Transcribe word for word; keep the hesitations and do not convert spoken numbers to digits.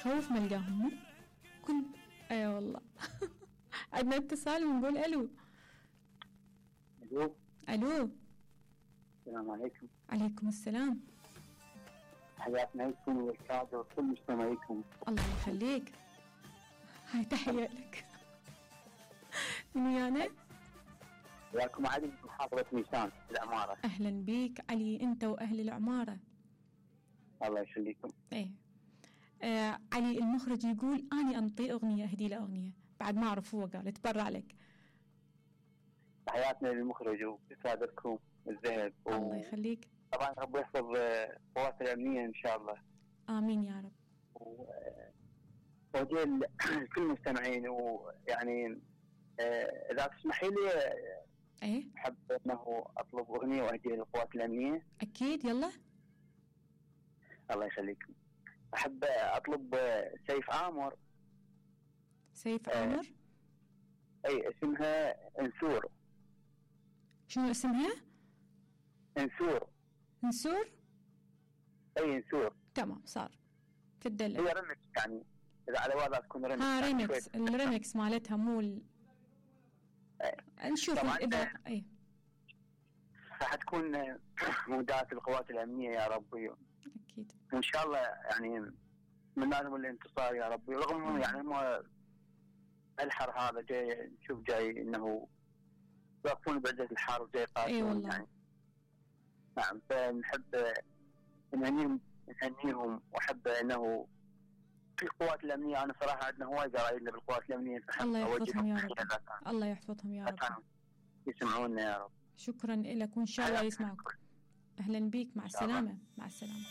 خوف ما القاهم كل اي أيوة والله. عندنا اتصال ونقول الو. الو الو السلام عليكم. عليكم السلام. حياتنا لكم والكادر وكل مستمعيكم. الله يخليك. هاي تحية لك. من ويانا؟ وياكم علي من محافظة ميسان العمارة. أهلا بيك علي أنت وأهل العمارة. الله يخليكم. إيه آه علي المخرج يقول أني أنطي أغنية أهدي له أغنية بعد ما أعرف هو قال اتبرع لك. تحياتنا للمخرج وكادركم الذهب و... الله يخليك. طبعا رب يحفظ قوات الأمنية إن شاء الله. آمين يا رب. وجل كل المستمعين ويعني إذا تسمحي لي إيه أحب أنه أطلب أغنية وأهديها للقوات الأمنية. أكيد يلا. الله يخليكم. أحب أطلب سيف آمر. سيف آمر. أه أي اسمها انسور. شنو اسمها؟ انسور. انسور. أي انسور. تمام صار تدلل. هي ريمكس يعني إذا على وضع تكون ريمكس. ها ريمكس الريمكس مالتها مو ال... أه. نشوف إذا أي راح تكون مودات القوات الأمنية يا ربي. أكيد. وإن شاء الله يعني من لازم الانتصار يا ربي رغم يعني ما الحر هذا جاي نشوف جاي إنه يقفون بعدة الحر وجاي قاتل. أي والله. يعني نعم فنحب نهنيهم نهنيهم وأحب إنه في القوات الأمنية. أنا صراحة عندنا هواي قرايبنا بالقوات الأمنية. الله يحفظهم يا رب. الله يحفظهم يا رب. يسمعونا يا رب. شكرا لك وإن شاء الله يسمعك. أهلا بيك مع السلامة. مع السلامة.